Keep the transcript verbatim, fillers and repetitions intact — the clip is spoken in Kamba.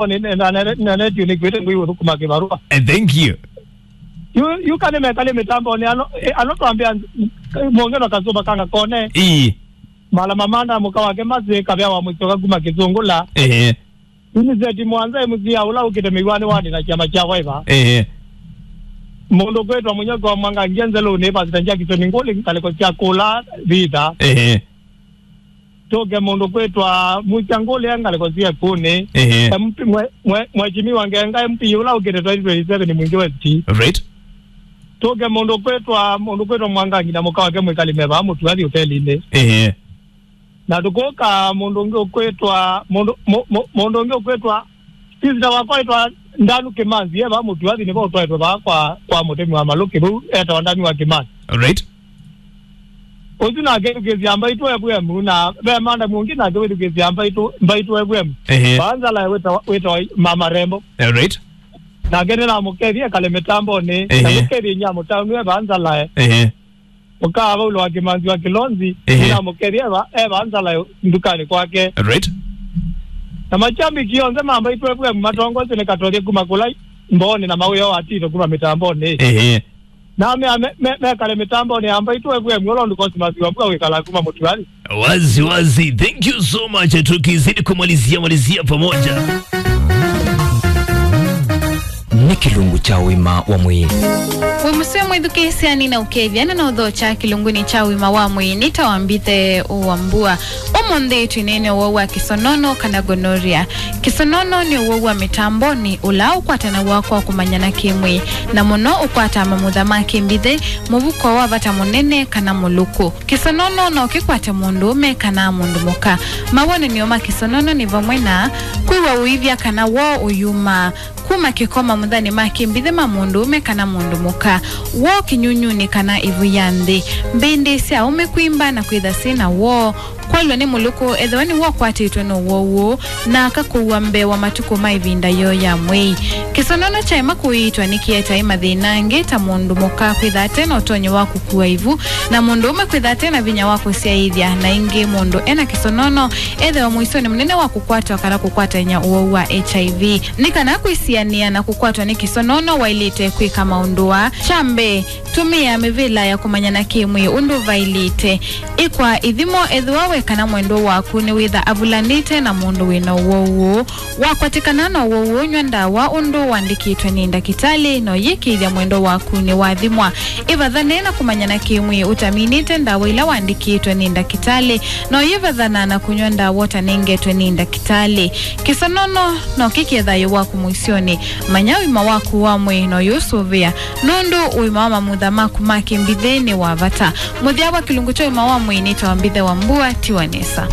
Nĩ- nĩ- na- na- na- na- nĩkwĩte ngwĩ ũthũkũma kĩvarũa. Eh, thank you. Yu yu kana mekale mĩtambonĩ ano, eh, ano twambĩa mũngeno kasũva kanga kone. Ii. Mala mamanda mũka wake masĩ kavea wa mũsyoka kuma Kĩsũngũla. Ehe. Yu nĩ seti mwanza M C A ũla ũkĩte mĩwani wani na kyama kya Viber. Ehe. Mũndũ kwĩtwa Mũnyoki wa Mwanga ngia nzelũnĩ Pastor Jackson Ngũlĩ ngalĩko sya kũla Vita. Ehe. Tũke mũndũ kwĩtwa Mucha Ngũlĩ ngalĩko sya Kũnĩ. Ehe. M P mwe- mwe- Mheshimiwa Ngenga M P ũla ũkĩte twenty twenty-seven Mwingi West. Right. Tũke mũndũ kwĩtwa mũndũ kwĩtwa Mwangangi na mũka wake mwĩkali meva mũtuathi ũtelinĩ. Ehe. Na tũkũka mũndũ ũngĩ ũkwĩtwa mũndũ mũ- mũ- mũndũ ũngĩ ũkwĩtwa sister wakwa ĩtwa Ndanu Kĩmanzi eva mũtuathi nĩvo ũtwaĩtwe vaa kwa kwa mũtemi wa malũkĩ vau etawa Ndanu wa Kĩmanzi. Right. Ũsu nake wĩthukĩĩsya Mbaitũ F M na ve manda mũngĩ nake wĩthukĩĩsya Mbaitũ Mbaitũ F M. Ehe. Vaa Nzalae wĩtawa wĩtawa Mama Rembo. Eh, right. Nake nĩnamũkethie ekale mĩtambonĩ. Ehe. Na mũkethie inyia mũtaũnue vaa Nzalae. Ehe. Mũkaa Vaulo wa Kĩmanzi wa Kĩlonzi, ehe, nĩnamũkethie eva eva Nzalae ndukanĩ kwake. Right. Na machambiki onthe ma Mbaitũ F M matongosye nĩ Katolya kuma kũla Mbooni na Mawĩo wa Tito kuma mĩtambonĩ. Ehe. Na me- me- me- mekale mĩtambonĩ ya Mbaitũ F M ũla ũndũ Cosmas wa Mbua wĩkala kuma Mũtuali. Wazi wazi. Thank you so much. Tukizidi kumalizia malizia pamoja. Nĩ kĩlungu kya ũima wa mwĩĩ. Wĩ mũseo mwĩthukĩĩsya nĩnaũkethya na naũthokya kĩlungunĩ kya ũima wa mwĩĩ nĩ ta wambithe wa mbua. Ũmũnthĩ twĩneene ũwau wa kĩsonono kana gonorrhea. Kĩsonono nĩ ũwau wa mĩtambonĩ ũla ũkwatanaw'a kwa kũmanyana kĩ-mwĩĩ, na mũno ũkwataa mamutha ma kĩmbithĩ, mũvuko wa vata mũnene, kana mũlũkũ. Kĩsonono no kĩkwate mũndũũme kana mũndũ mũka. Mawonany'o ma kĩsonono nĩ vamwe na kwĩw'a ũivya kana woo ũyumaa, kuma kĩko mamuthanĩ ma kĩmbithĩ ma mũndũũme kana mũndũ mũka, woo kĩnyunyunĩ kana ĩvu ya nthĩ, mbĩndĩ sya aũme kwimba na kwĩtha syĩ na woo, kwalw'a nĩ mũlũkũ ethĩwa nĩwe ũkwatĩtwe nĩ ũwau ũũ, na aka kũua mbee wa matukũ ma ĩvinda yoo ya mwei. Kĩsonono kyaema kũiitwa nĩkĩetae mathĩna angĩ ta mũndũ mũka kwĩtha ate na ũtonyi wa kũkua ĩvu, na mũndũũme kwĩtha ate na vinya wa kũsyaĩĩthya, na ĩngĩ mũndũ ena kĩsonono ethĩwa mũisyonĩ mũnene wa kũkwatwa kana kũkwatany'a ũwau wa H I V. Nĩ kana kwĩsianĩa na kũkwatwa nĩ kĩsonono, waĩlĩte kwĩka maũndũ aa. Kya mbee, tũmĩa mĩvĩla ya kũmanyana kĩ-mwĩĩ ũndũ vaĩlĩte. Ĩkwa ithimo ethĩwa we kana mwendwa waku nĩwĩtha avulanĩte na mũndũ wĩ na ũwau ũũ. Wakwatĩkana na ũwau ũũ, nyw'a ndawa ũndũ ũandĩkĩtwe nĩ ndakĩtalĩ, na ũyĩkĩĩthya mwendwa waku nĩwathimwa. Ĩvathane na kũmanyana kĩ-mwĩĩ ũtaminĩte ndawa ila waandĩkĩtwe nĩ ndakĩtalĩ, na ũyĩvathana na kũnyw'a ndawa ũtanengetwe nĩ ndakĩtalĩ. Kĩsonono no kĩkĩe thayũ waku mũisyonĩ. Manya ũima waku wa mwĩĩ na ũyĩũsũvĩa, nũndũ ũima wa mamutha maku ma kĩmbithĩ nĩ wa vata. Mũthya wa kĩlungu kya ũima wa mwĩĩ nĩtawa mbithe wa mbua, tiwa nesa.